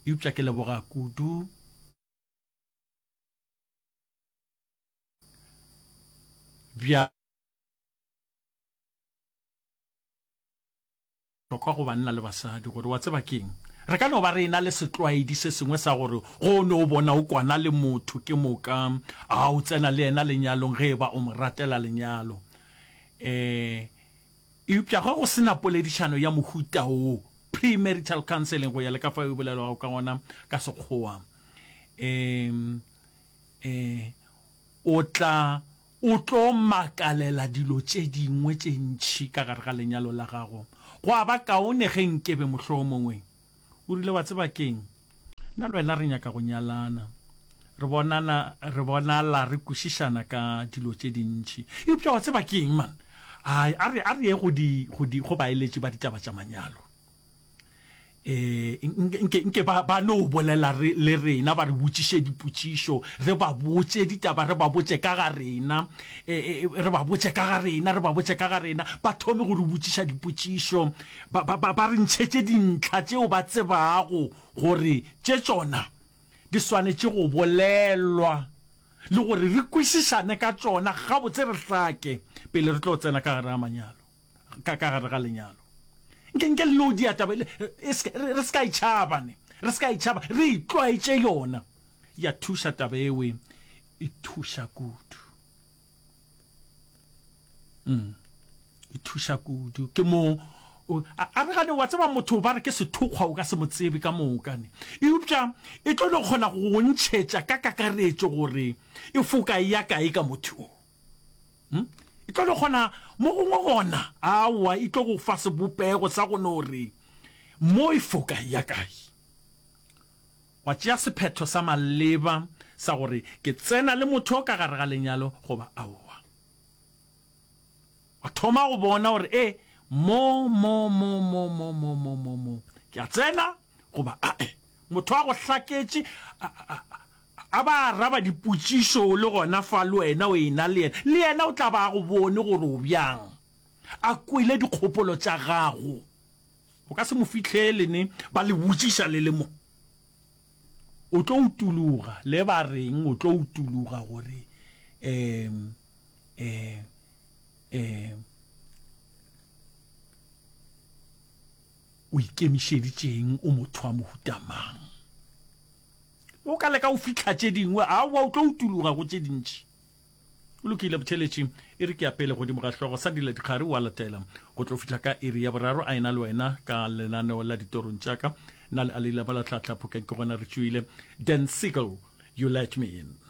Eupša ke leboga kudu bja. Bohlokwa go banna le basadi gore wa tseba ke'ng? Re ka no ba re e-na le setlwaedi se sengwe sa gore ge o no bona o kwana le motho ke moka a o tsena le yena lenyalong ge e ba o mo ratela lenyalo. Um eupša ge go se na poledišano ya mohuta wo, premarital counseling go ya le ka fao e bolelwago ka gona ka Sekgowa, um um o tla O tlo makalela dilo tše dingwe tše ntši ka gare ga lenyalo la gago. Gwa ba kaone ge nkebe mohlomongwe o rile, Wa tseba ke'ng? Nna le wena re nyaka go nyalana. Re bonana, re bonala re kwešišana ka dilo tše dintši. Eupša wa tseba ke'ng, man? A, a re, a re ye go di, go di, go baeletši ba ditaba tša manyalo. Nke, nke ba, ba no bolela re, le rena, ba re botšiše dipotšišo, re ba botše ditaba, re ba botše ka ga rena, e, e, re ba botše ka ga rena, re ba botše ka ga rena, ba thome go re botšiša dipotšišo, ba, ba, ba, ba re ntšhetše dintlha tšeo ba tsebago gore tše tšona di swanetše go bolelwa le gore re kwešišane ka tšona gabotse re hlake pele re tlo tsena ka gare ga manyalo. ka ka gare ga lenyalo. Nke nke le no dia taba e, e se, re, re se ka e tšhaba ne, re se ka e tšhaba, re itlwaetše yona. Ya thuša taba ewe, e thuša kudu. Mm. E thuša kudu. Ke mo a, a re gane wa tseba motho ba re ke sethokgwa o ka se mo tsebe ka moka ne. Eupša e tlo no kgona go go ntšhetša ka kakaretšo gore e foka e ya kae ka motho o. Hm? E tlo no kgona mo gongwe gona, aowa, e tlo go fa sebopego sa go no re mo e foka ya kae. Wa tšea sephetho sa maleba sa gore ke tsena le motho ka gare ga lenyalo goba aowa. Wa thoma go bona gore e mo mo mo mo mo mo mo mo mo ke a tsena goba ae. Motho a go hlaketše a, a, a ba araba dipotšišo o le gona fa le wena o e-na le yena, le yena o tla ba a go bone gore o bjang, a kwele dikgopolo tša gago. O ka se mo fihlele ne ba le botšiša le le mo. O tlo utologa, le ba reng o tlo utologa gore um um um o ikemišeditšeng, o motho wa mohuta mang. O ka leka go fihla tše dingwe, aowa, o tlo utologa go tše dintši. O lokile, botheletši, e re ke ya pele godimo ga hlogo sa dila dikgare o a latela. Go tlo fihla ka iri ya boraro a ena le wena ka lenaneo la ditorong tša ka. Nna le Alila ba la tlhatla phokeng ke gona re tšwile. Dan Siegel, You Let Me In.